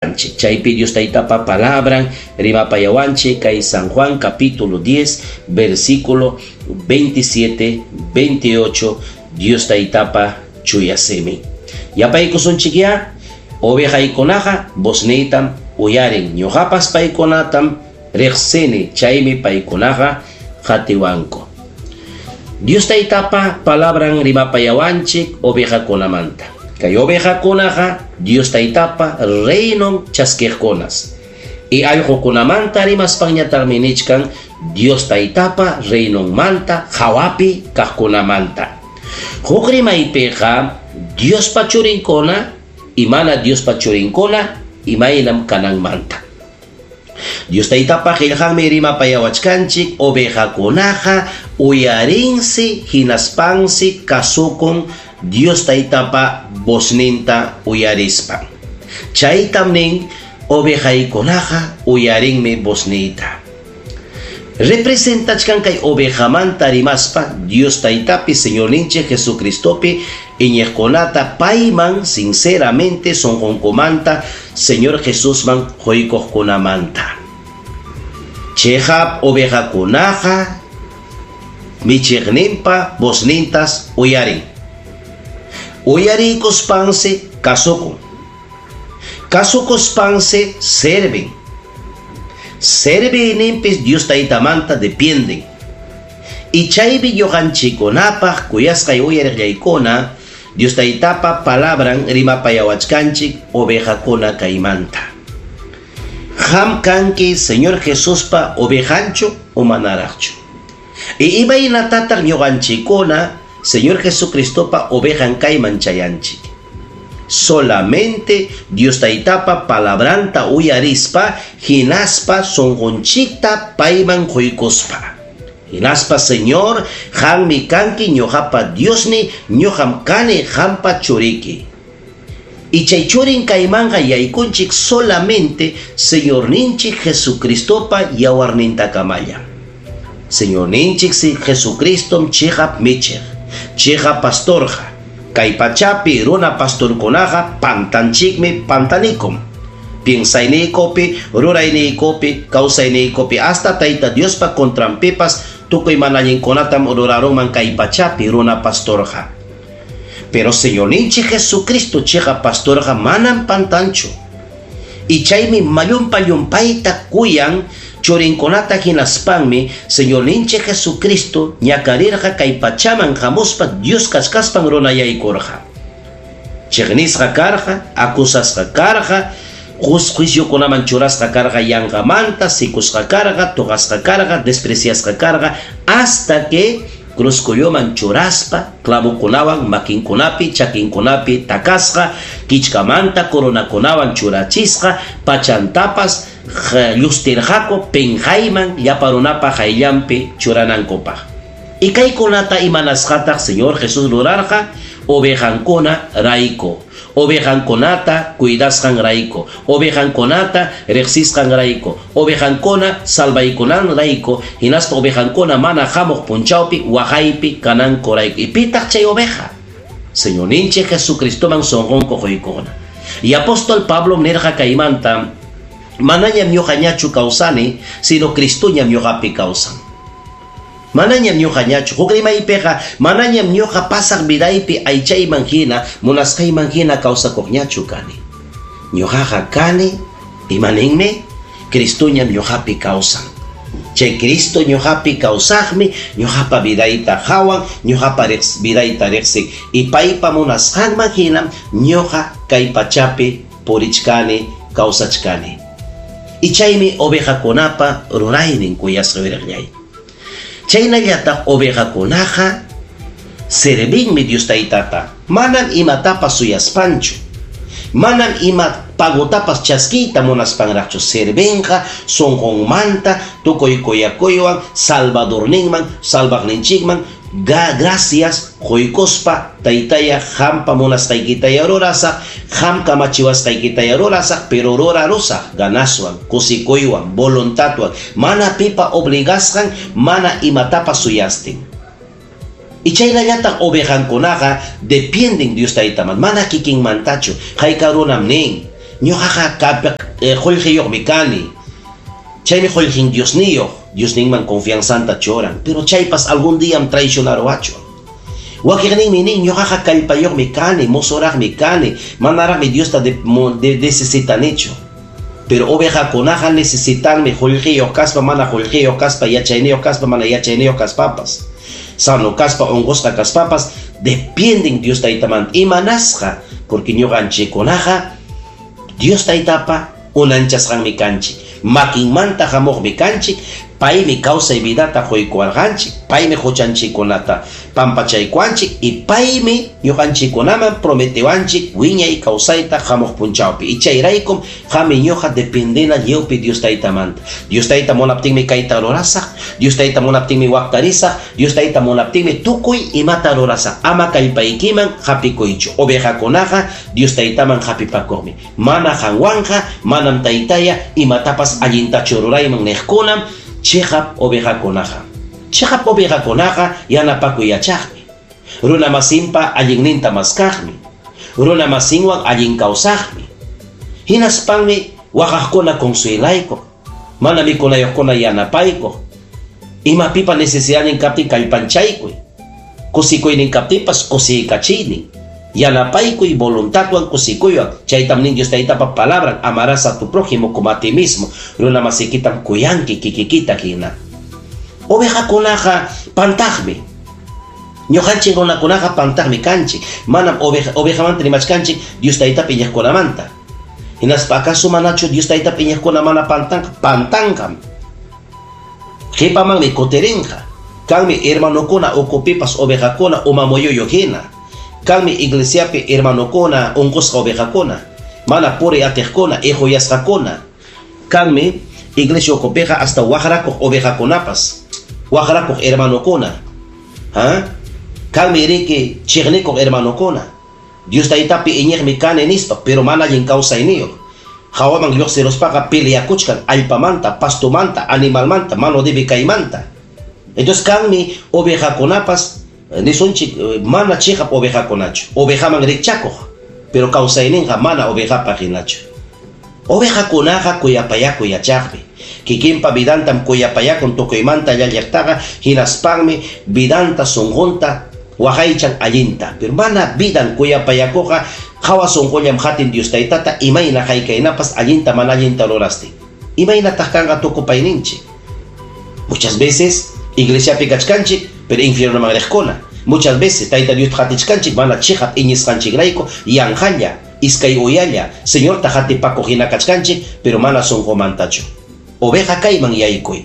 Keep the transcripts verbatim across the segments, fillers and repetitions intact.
Chaypi Dios Taytapa palabran rimapayawanchik kay San Juan capítulo diez versículo veintisiete, veintiocho Dios Taytapa chuyasimi. Yapaykusunchik ya ovejaykunaqa vozniytam uyarin, ñuqapas paykunatam riqsini, chaymi paykunaqa qatiwanku. Dios Taytapa palabran rimapayawanchik ovejakunamanta. Kay ovejakunaqa Dios Taytapa reinon chaskiqkunas. Y allqukunamanta rimaspanñataqmi nichkan Dios Taytapa reinonmanta hawapi kaqkunamanta. Huk rimaypiqa Diospa churinkuna y mana Diospa churinkuna imaynam kananmanta. Dios Taytapa qillqanmi rimapayawachkanchik ovejakunaqa uyarinsi hinaspansi kasukun Dios Taytapa vozninta uyarispa. Chaytam nin ovejaykunaqa uyarinmi vozniyta. Representachkan kay ovejamanta rimaspa Dios Taytapi Señorninchik Jesucristopi iñiqkunata payman sinceramente sonqonkumanta Señor Jesusman quykuqkunamanta. Chihap ovejakunaqa michiqninpa voznintas uyarin. Uyarikuspansi kasukun. Kasukuspansi serven. Servininpis Dios Taytamanta dependen. Y chaypi ñuqanchikkunapaq kuyasqay uyariqllaykuna Dios Taytapa palabran rimapayawachkanchik ovejakuna kaymanta. Qam kanki Señor Jesuspa ovejanchu o manaraqchu. Y imaynatataq ñuqanchikkuna Señor Jesucristopa ovejan kayman chayanchik. Solamente Dios Taytapa palabranta uyarispa hinaspa sonqonchikta payman quykuspa. Hinaspa Señor, qammi kanki ñuqapa Diosni, ñuqam kani qampa churiki. Y chay churin kaymanqa yaykunchik solamente Señorninchik Jesucristopa yawarnintakamalla. Señorninchik Jesucristom chiqap michiq, chiqap pastorqa. Kay pachapi runa pastorkunaqa pantanchikmi pantanikum. Piensayniykupi, rurayniykupi, kawsayniykupi hasta Tayta Diospa contranpipas tukuy mana allinkunatam rurarunman kay pachapi runa pastorqa. Pero Señorninchik Jesucristo chiqap pastorqa manam pantanchu. Y chaymi mallumpa llumpayta kuyan churinkunata hinaspanmi Señorninchik Jesucristo ñakarirqa kay pachaman hamuspa Dios kachkaspan runayaykurqa. Chiqnisqa karqa, acusasqa karqa, juiciokunaman churasqa karqa yanqamanta, sikusqa karqa, tuqasqa karqa, despreciasqa karqa, hasta que cruzculloman churaspa, clavokunawan makinkunapi, chakinkunapi takasqa, kichkamanta coronakunawan churachisqa, pachantapas llustirqaku penqayman llapa runapa hayllanpi churanankupaq. Y kaykunata imanasqataq Señor Jesús rurarqa ovejankuna rayku, ovejankunata cuidasqan rayku, ovejankunata riqsisqan rayku, ovejankuna salvaykunan rayku, hinaspa ovejankuna mana hamuq punchawpi waqaypi kananku rayku. Y pitaq chay oveja? Señorninchik Jesucristoman sonqonku quykuna. Y apóstol Pablo nirqa kaymanta, manañam ñuqañachu kawsani, sino Cristoñam ñuqapi kawsan. Manañam ñuqañachu, huk rimaypiqa manañam ñuqa pasaq vidaypi aychayman hina, munasqayman hina kawsakuqñachu kani. Ñuqaqa kani, imaninmi? Cristoñam ñuqapi kawsan. Chay Cristo ñuqapi kawsaqmi, ñuqapa vidayta hawan, ñuqapa vidayta riqsin. Y paypa munasqanman hinam ñuqa kay pachapi purichkani, kawsachkani. Y chaymi ovejakunapa ruraynin kuyasqa wiraqllay. Chaynallataq ovejakunaqa servinmi Dios Taytata. Manam imatapas suyaspanchu. Manam ima pagotapas chaskiyta munaspanraqchu. Servinqa sonqonmanta tukuy kuyakuywan Salvadorninman, salvaqninchikman gracias quykuspa Taytaya qampa munasqaykitaya rurasaq, qam kamachiwasqaykitaya rurasaq, pero rurarusaq ganaswan, kusikuywan, voluntadwan, mana pipa obligasqan, mana imatapas suyastin. Y chaynallataq ovejankunaqa dependen Dios Taytaman, mana kikinmantachu. Hayka runam nin, Ñuqaqa qullqiyuqmi kani. Chaymi qullqin Diosniyuq, Diosninman confianzanta churan. Pero chaypas algún día traicionaruwachwan. Wakiqninmi nin, ñuqaqa kallpayuqmi kani, mozoraqmi kani, manaraqmi Diosta de, de, necesitanichu. Pero ovejakunaqa necesitanmi qullqiyuq kaspa, mana qullqiyuq kaspa, yachayniyuq kaspa, mana yachayniyuq kaspapas. Sano kaspa, unqusqa kaspapas, dependen Dios taytamanta. Imanasqa, porque ñuqanchikkunaqa Dios taytapa unanchasqanmi kanchik, makinmanta hamuqmi kanchik, paymi kawsay vidata quykuwarqanchik, paymi huchanchikkunata pampachaykuwanchik y paymi ñuqanchikkunaman prometiwanchik wiñay kawsayta hamuq punchawpi. Y chayraykum qami ñuqa dependena lliwpi Dios taytamanta. Dios tayta munaptinmi kayta rurasaq, Dios tayta munaptinmi waqtarisaq, Dios tayta munaptinmi tukuy imata rurasaq. Ama kallpaykiman hapikuychu. Ovejakunaqa Dios taytaman hapipakuqmi. Mana qanwanqa, manam taytaya imatapas allintachu rurayman niqkunam chiqap ovejakunaqa. Chiqap ovejakunaqa yanapakuy yachaqmi. Runa masinpa allinninta maskaqmi. Runa masinwan allin kawsaqmi. Hinaspanmi waqaqkuna consuelaykuq. Mana mikunayuqkuna yanapaykuq. Imapipa necesidadnin kaptin kallpanchaykuy. Kusikuynin kaptinpas kusiykachiynin. Yanapaykuy voluntadwan kusikuywan. Chaytam nin Dios taytapa palabran, amarás a tu prójimo como a ti mismo. Runa masikitam kuyanki kikikita hina. Ovejakunaqa pantaqmi. Ñuqanchik runakunaqa pantaqmi kanchik. Manam oveja, ovejamanta rimachkanchik Dios taytapi iñiqkunamanta. Hinaspa acaso manachu Dios taytapi iñiqkuna mana pantanqa? Pantanqam. Qhipamanmi kutirinqa. Kanmi hermanokuna ukupipas ovejakuna umamuyuyu hina. Kanmi iglesiapi hermanokuna unqusqa ovejakuna, mana puri atiqkuna, ihuyasqakuna. Kanmi iglesia ukupiqa hasta waqrakuq ovejakunapas, waqrakuq hermanokuna. Ha? Kanmi riki chiqnikuq hermanokuna. Dios taytapi iñiqmi kani nispa, pero mana allin kawsayniyuq. Hawaman lluqsiruspaqa peleakuchkan allpamanta, pastumanta, animalmanta, mano debe kaymanta. Entonces kanmi ovejakunapas nisunchik mana chiqap ovejakunachu, ovejaman rikchakuq, pero kawsayninqa mana ovejapaq hinachu. Ovejakunaqa kuyapayakuy yachaqmi. Kikinpa vidantam kuyapayakun tukuymanta llalliqtaqa, hinaspanmi vidanta sunqunta waqaychan allinta. Pero mana vidan kuyapayakuqa hawa sunqullam hatin Dios taytata imayna haykaynapas allinta mana allinta rurastin. Imaynataq kanqa tukupayninchik. Muchas veces iglesiapi kachkanchik, pero infiernoman riqkuna. Muchas veces tayta Dios hatichkanchik mana chiqap iñisqanchikrayku yanqalla, iskay uyalla, Señorta hatipakuq hina kachkanchik, pero mana sunqumantachu. Oveja kayman yaykuy.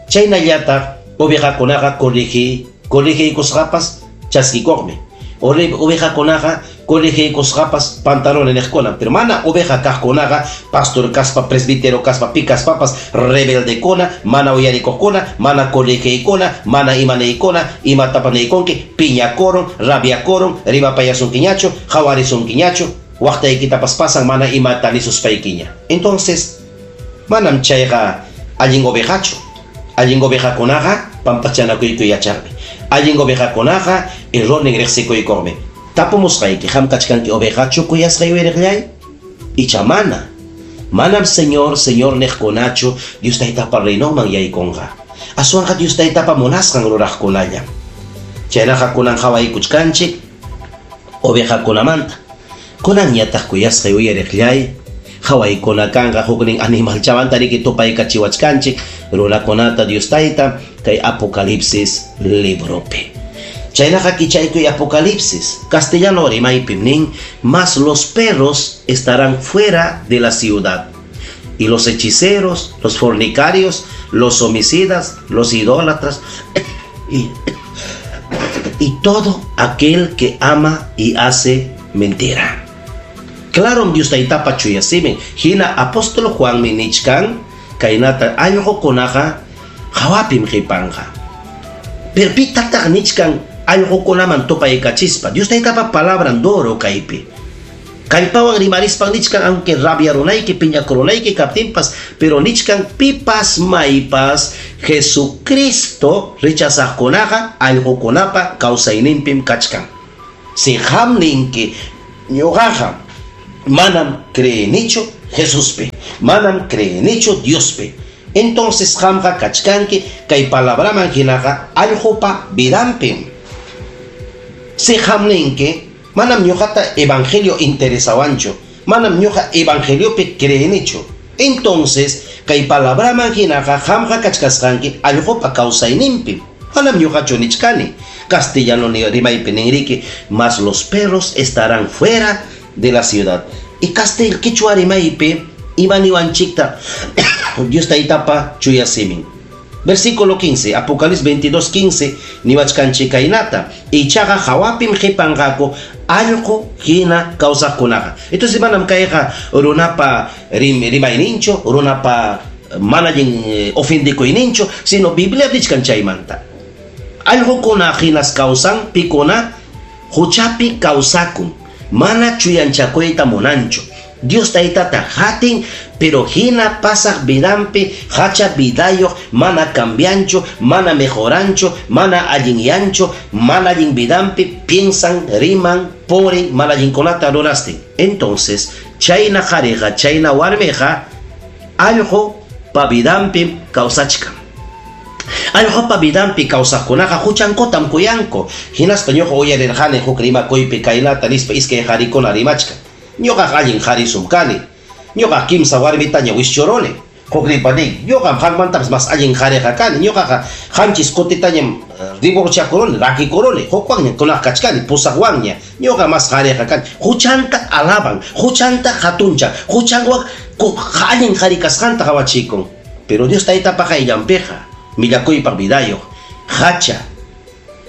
Chaynallataq ovejakunaqa corrigi, corrigiykusqapas chaskikuqmi. Ovejakunaqa corrigiykusqapas pantalones niqkuna, pero mana oveja kaqkunaqa pastor kaspa, presbítero kaspa, pi kaspapas rebeldekuna, mana uyarikuqkuna, mana corrigiykuna, mana imaneykuna, imatapas niykunki, piñakurun, rabiakurun, rimapayasunkiñachu, hawarisunkiñachu, waqtaykitapas pasan mana imata nisuspaykiña. Entonces, manam chayqa allin ovejachu. Allin ovejakunaqa pampachanakuykuy yachaqmi. Allin ovejakunaqa errornin riqsikuykuqmi. Tapumusqayki, qam kachkanki ovejachu kuyasqay uyariqllay? Icha mana. Manam Señor, Señor niqkunachu Dios taytapa reinonman yaykunqa. Aswanqa Dios taytapa munasqan ruraqkunalla. Chaynaqa kunan hawaykuchkanchik ovejakunamanta. Kunanñataq kuyasqay uyariqllay, hawaykuna kanqa huknin animalchamanta riki tupaykachiwachkanchik runakunata Dios tayta kay Apocalipsis libropi. Chaynaqa kichaykuy Apocalipsis, castellano rimaypim nin, mas los perros estarán fuera de la ciudad, y los hechiceros, los fornicarios, los homicidas, los idólatras, y, y todo aquel que ama y hace mentira. Claro, Dios taytapa chuyasimin, hina apóstol Juan minichkan, kaynata allqukunaqa hawapim qhipanqa. Pero pitataq nichkan allqukunaman tupaykachispa, Dios taytapa palabran duro kaypi. Kallpawan rimarispan nichkan, aunque rabia runayki, piñakurunayki kaptinpas, pero nichkan pipas maypas Jesucristo rechazaqkunaqa allqukunapa kawsayninpim kachkan. Si qam ninki ñuqaqa Manam creenichu Jesuspi, manam creenichu Diospi. Entonces qamqa kachkanki kay palabraman hinaqa allqupa vidanpim. Si qam ninki, manam ñuqata evangelio interesawanchu, manam ñuqa evangeliopi creenichu. Entonces kay palabraman hinaqa qamqa kachkasqanki allqupa kawsayninpim. Manam ñuqachu nichkani. Castellano rimaypi ninriki, mas los perros estarán fuera de la ciudad. Y castel quichua rimaypi imaniwanchikta Dios taytapa chuya simin. Versículo quince, Apocalipsis veintidós quince, niwachkanchik kaynata, ichaqa hawapim qipanqaku allqu hina kawsaqkunaqa. Entonces manam kayqa runapa rim, rimayninchu, runapa mana allin ofendikuyninchu, sino Biblia nichkan chaymanta. Allqukuna hinas kawsan, pikuna huchapi kawsakun, mana chuyanchakuyta munanchu. Dios taytata hatin, pero hina pasaq vidanpi hacha vidayuq, mana cambianchu, mana mejoranchu, mana allinyanchu, mana allin vidanpi piensan, riman, poren, mana allinkunata rurastin. Entonces, chayna qhariqa, chayna warmiqa allqupa vidanpi kawsachkan. Allqupa vidanpi kawsaqkunaqa huchankutam kuyanku. Hinaspa ñuqa uyarirqani huk rimakuypi kaynata nispa iskay qharikuna rimachkan. Ñuqa allin qarisum kani. Ñuqa kimsa warmitaña wischuruni. Huk ripa nin, ñuqam qanmantapas mas allin qhariqa kani. Ñuqaqa qanchis kutitañam divorciakuruni, rakikuruni. Hukwanña kunaq kachkani, pusaqwanña. Ñuqa mas qhariqa kani. Huchanta alaban, huchanta hatunchan, huchanwan allin qhari kasqanta qawachikun. Pero Dios taytapa qayllanpiqa millakuypaq vidayuq, hacha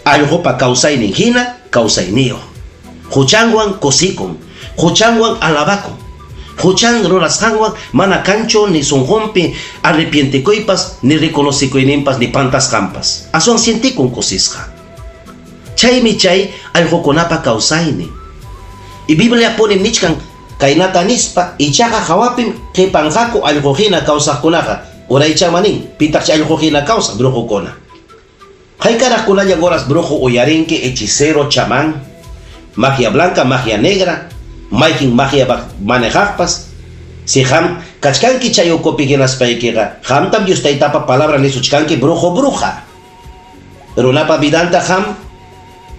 allqupa kawsaynin hina kawsayniyuq. Huchanwan kusikun, huchanwan alabakun, huchan rurasqanwan mana kanchu ni sunqunpi arrepientikuypas, ni reconocikuyninpas, ni pantasqanpas. Aswan sientikun kusisqa. Chaymi chay allqukunapa kawsaynin. Y Biblia pone nichkan kaynata nispa, ichaqa hawapim qipanqaku allqu hina kawsaqkunaqa. Uraychama nin, pitaq chay allqu hina kawsaq brujukuna. Haykaraqkunalla horas brujo uyarinki, hechicero, chamán, magia blanca, magia negra, mayqin magia manejaqpas. Si qam kachkanki chay ukupi hinaspaykiqa, qamtam Dios taytapa palabra nisuchkanki brujo bruja. Runapa vidanta qam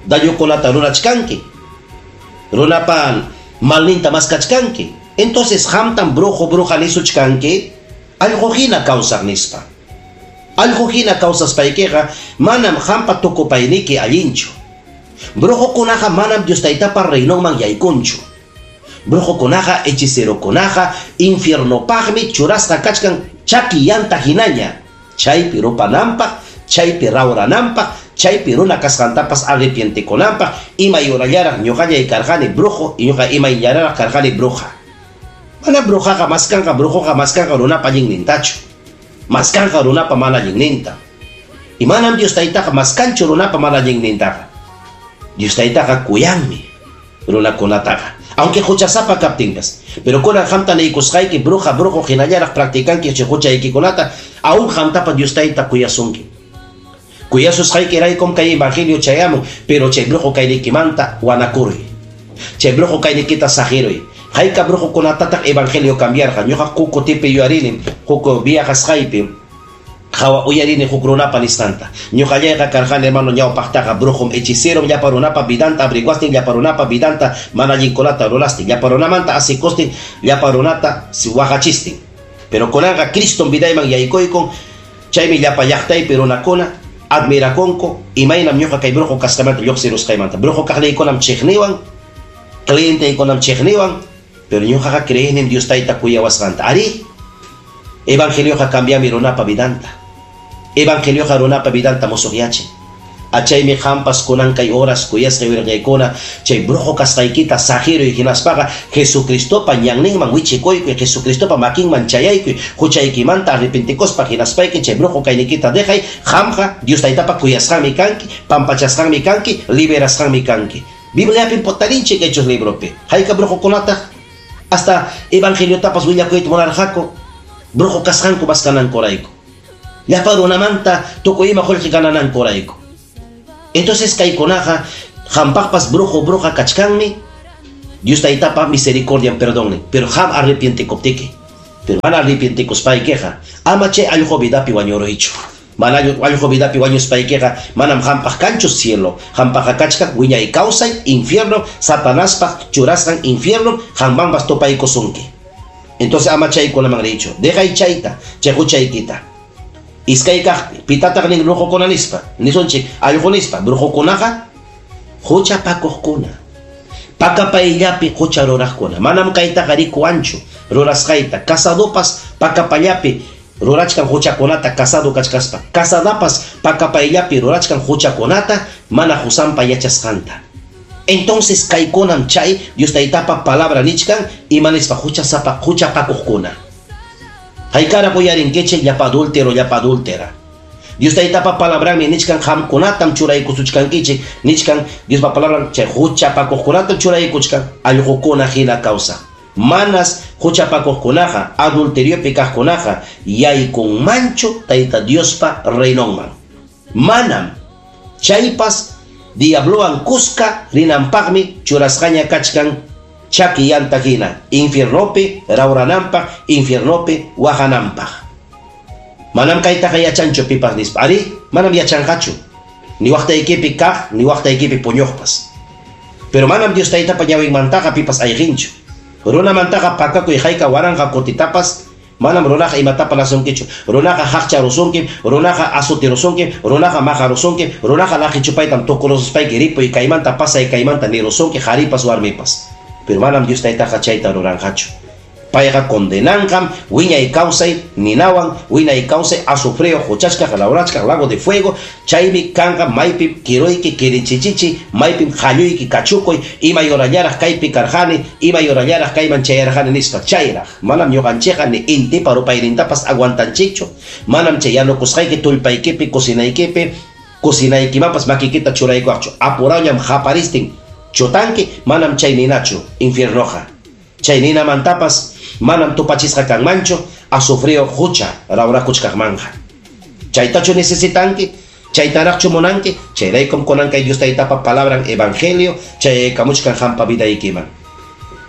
dañukunata rurachkanki. Runapa malninta maskachkanki. Entonces qamtam brujo bruja nisuchkanki allqu hina kawsaq nispa. Allqu hina kawsaspaykiqa manam qampa tukupayniki allinchu. Brujokunaqa manam Dios taytapa reinonman yaykunchu. Brujokunaqa, hechicerokunaqa infiernopaqmi churasqa kachkan chaki llanta hinaña. Chaypi rupananpaq, chaypi rawrananpaq, chaypi runa kasqantapas arrepientikunanpaq, imay urallaraq ñuqallay karqani brujo, ñuqa imayllaraq karqani bruja. Mana brujaqa maskanqa, brujoqa maskanqa runapa allinnintachu. Maskanqa runapa mana allinninta. Y manam Dios taytaqa maskanchu runapa mana allinnintaqa. Dios taytaqa kuyanmi runakunataqa. Aunque huchasapa kaptinpas. Pero kunan qamta niykusqayki bruja brujo hinallaraq practicanki chay huchaykikunata, aún qamtapa Dios tayta kuyasunki. Kuyasusqaykiraykum kay evangelio chayamun, pero chay brujo kaynikimanta wanakuruy. Chay brujo kaynikita saqiruy. Hayka brujokunatataq evangelio cambiarqa. Ñuqa kukutipi yuyarini, huk viajasqaypi hawa uyarini huk runapa nisqanta. Ñuqallayqa karqani hermano ñawpaqtaqa brujum hechicero, llapa runapa vidanta abriguastin, llapa runapa vidanta mana allinkunata rurastin, llapa runamanta asikustin, llapa runata waqachistin. Pero kunanqa Cristom vidayman yaykuykun, chaymi llapa llaqtaypi runakuna admirakunku imaynam ñuqa kay brujo kasqaymanta lluqsirusqaymanta. Brujo kaqliykunam chiqniwan, clienteykunam chiqniwan, pero ñuqaqa creenim Dios tayta kuyawasqanta. Ari, evangelioqa cambiami runapa vidanta. Evangelioqa runapa vidanta musuqyachin. Achaymi qampas kunan kay horas kuyasqay wirqaykuna, chay brujo kasqaykita saqiruy hinaspaqa Jesucristopa ñanninman wichikuykuy, Jesucristopa makinman chayaykuy, huchaykimanta arrepentikuspa hinaspayki chay brujo kaynikita dejay, qamqa Dios taytapa kuyasqanmi kanki, pampachasqanmi kanki, liberasqanmi kanki. Bibliapim potarinchik Hechos libropi. Hayka brujokunataq hasta evangeliotapas willakuyta munarqaku, brujo kasqanku maskanankurayku. Llapa runamanta tukuy ima qullqi gananankurayku. Entonces kaykunaqa qampaqpas brujo bruja kachkanmi, Dios taytapa misericordia perdone, pero qam arrepientekuptiki. Pero mana arrepientekuspaykiqa, ama chay allqu vidapi wañuruychu. Mana allqu vidapi wañuspaykiqa, manam qampaq kanchu cielo. Qampaqqa kachkan wiñay kawsay infierno, Satanaspaq churasqan infierno, qammanpas tupaykusunki. Entonces ama chaykunaman riychu. Dejay chayta, chay huchaykita. Iskay kaqpi, pitataq nin brujukuna nispa, nisunchik allqu nispa, brujukunaqa huchapakuqkuna. Pakapayllapi hucha ruraqkuna. Manam kaytaqa rikuwanchu rurasqayta. Casadopas pakapallapi rurachkan huchakunata casado kachkaspa. Casadapas pakapayllapi rurachkan huchakunata mana husampa yachasqanta. Entonces kaykunam chay Dios taytapa palabra nichkan ima nispa huchasapa huchapakuqkuna. Haykara uyarinkichik llapa adúltero, llapa adúltera. Dios taytapa palabranmi nichkan qamkunatam churaykusuchkankichik, nichkan Diospa palabran chay huchapakuqkunatam churaykuchkan allqukuna hina kawsaq. Manas huchapakuqkunaqa adulteriopi kaqkunaqa yaykunmanchu Tayta Diospa reinonman. Manam chaypas diablowan kuska rinanpaqmi churasqaña kachkan chaki yanta hina infiernopi rawrananpaq, infiernopi waqananpaq. Manam kaytaqa yachanchu pipas nispa. Ari, manam yachanqachu. Ni waqtaykipi kaq, ni waqtaykipi puñuqpas. Pero manam Dios taytapa ñawinmantaqa pipas ayqinchu. Runamantaqa pakakuy hayka waranqa kutitapas, manam runaqa imatapa nasunkichu. Runaqa haqcharusunki, runaqa asutirusunki, runaqa maqarusunki, runaqa laqichupaytam tukurususpayki ripuy kaymanta pasay kaymanta nirusunki qharipas warmipas. Pero manam Dios taytaqa chayta ruranqachu. Payqa condenanqam wiñay kawsay ninawan, wiñay kawsay azufreo huchachkaq lawrachkaq lago de fuego, chaymi kanqa maypim kiruyki kirinchichichi, maypim qalluyki kachukuy, imay horallaraq kaypi karqani, imay horallaraq kayman chayarqani nispa. Chayraq manam ñuqanchikqa ni intipa rupaynintapas aguantanchikchu, manam chay yanukusqayki tullpaykipi cocinaykipi cocinaykimanpas makikita churaykuwaqchu. Apurawñam qaparistin chutanki, manam chay ninachu infiernoqa. Chay ninamantapas manam tupachisqa kanmanchu azufreo hucha rawrakuchkaqmanja. Chaytachu necesitanki, chaytaraqchu munanki, chayraykum kunan kay Dios taytapa palabran evangelio, chayaykamuchkan qampa vidaykiman.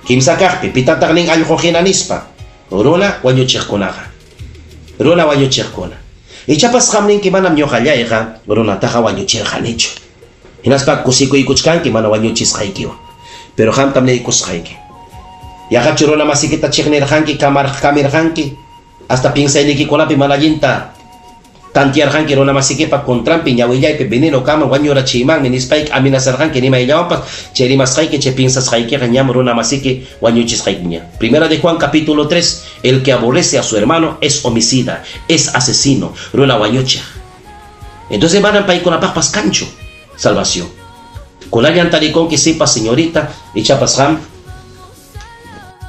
Kimsa kaqpi, pitataq nin allqu hina nispa, runa wañuchiqkunaqa. Runa wañuchiqkuna. Ichapas qam ninki manam ñuqallayqa runataqa wañuchirqanichu. Hinaspa kusikuykuchkanki mana wañuchisqaykiwan. Pero qamtam niykusqayki. Yaqachu runa masikita chiqnirqanki, kamirqanki, hasta pinsaynikikunapi mana allinta tantiarqanki runa masikipa contranpi ñawillaypi veneno kaman wañurachiymanmi nispayki amenazarqanki nimayllawanpas, chay rimasqayki chay pinsasqaykiqa ñam runa masiki wañuchisqaykiña. Primera de Juan capítulo tres, el que aborrece a su hermano es homicida, es asesino, runa wañuchiq. Entonces manam paykunapaqpas kanchu salvación. Kunallan tarikunki sipas señorita, ichapas qam.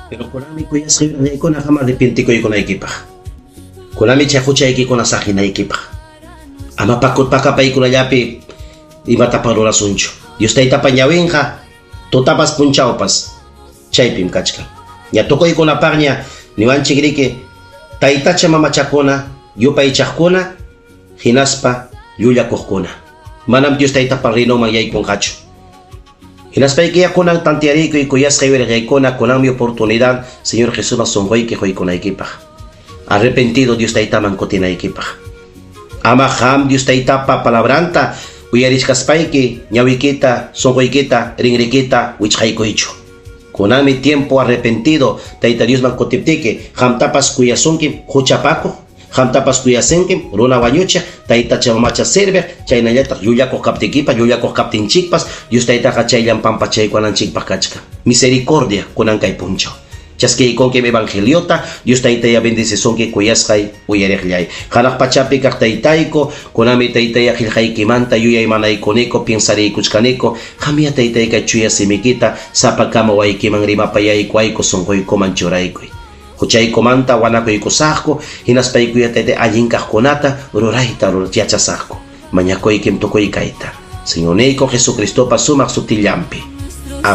Pero kunami kuyasqaykuna qam arrepientikuykunaykipaq. Kunami chay huchaykikuna saqinaykipaq. Ama pakapaykunallapi imatapas rurasunchu. Dios taytapa ñawinqa tutapas punchawpas chaypim kachkan. Ña tukuykunapaqña niwanchik riki taytacha mamachakuna, yupaychaqkuna, hinaspa llullakuqkuna. Manam Dios taytapa reinonman yaykunqachu. Hinaspaykiya kunan tantiariykuy kuyasqay wirqaykuna kunanmi oportunidad Señor Jesús sunquyki quykunaykipaq. Arrepentido Dios taytaman kutinaykipaq. Ama qam Dios taytapa palabranta uyarichkaspayki ñawikita, sunquykita, rinrikita wichqaykuychu. Kunanmi tiempo arrepentido Tayta Diosman kutiptiki qamtapas kuyasunki huchapakuq, qamtapas kuyasinki runa wañuchiq, taytacha mamacha sirviq, chaynallataq llullakuq kaptikipas, llullakuq kaptinchikpas, Dios taytaqa chayllan pampachaykuwananchikpaq kachkan. Misericordia kunan kay punchaw. Chaskiykunkim evangeliota, Dios taytaya bendecisunki kuyasqay uyariqllay. Hanaq pachapi kaq taytayku, kunami taytaya qillqaykimanta yuyaymanaykuniko, piensariykuchkaniko, qamya taytayka chuya simikita sapakama waykiman rimapayaykuayku sunquykuman churaykuy. Huchaykumanta wanakuykusaqku, hinaspaykuya taytay allin kaqkunata rurayta yachasaqku. Mañakuykim tukuy kayta. Señorniyku Jesucristopa sumaq sutillanpi.